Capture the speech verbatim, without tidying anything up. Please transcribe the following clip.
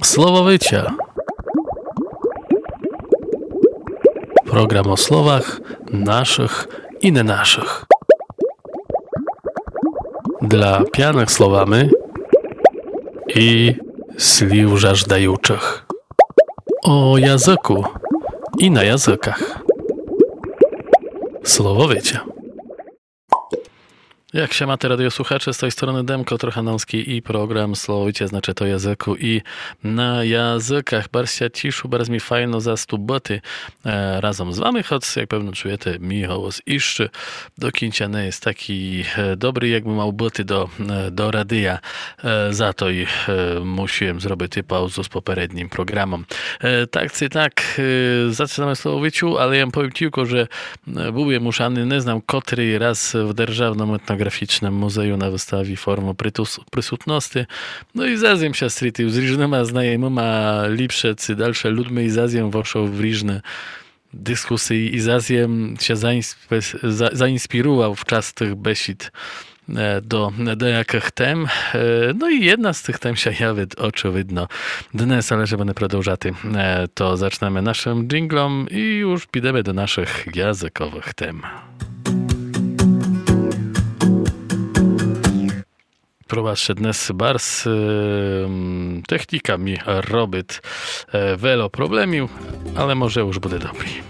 Слововиця. Програм о словах нашых і не нашых. Для пяных словами і слів жаждаючых. О языку і на языках. Слововиця. Як ся мате, радіосухаче, з той стороны Демко Трохановскій і програм Слововиця, значыт о языку і на языках. Барз ся тішу, барз мі файно засту быти, е, разом з вами, хоц, як певно чуєте, мій голос іщы до кінця не єст такій, е, добрий, як бы мав быти до, е, до радія. Е, за то й, е, мусіл єм зробити паузу з попереднім програмом. Е, так ци так, е, зачынаме Слововицю, але єм повім тілько, же Е, быв єм уж ани не знам котрий раз в Державному етнографічному музею на выставі «Формы притус-, присутности». Но і зас єм ся стрітив з ріжныма знайомыма, ліпше ци дальше людми, і зас єм вошов в ріжны дискусиі, і зас єм ся заінспе-, за-, заінспірував в частых бесід, е, до деякых тем. Е, но і єдна з тых тем ся явит, очывидно, днес, але жебы не продовжати, е, то зачнеме нашым джінґлом і уж підеме до нашых языковых тем. Пробачте, днес барз, е, м, техніка мі робит, е, вело проблемів, але може уж буде добрі.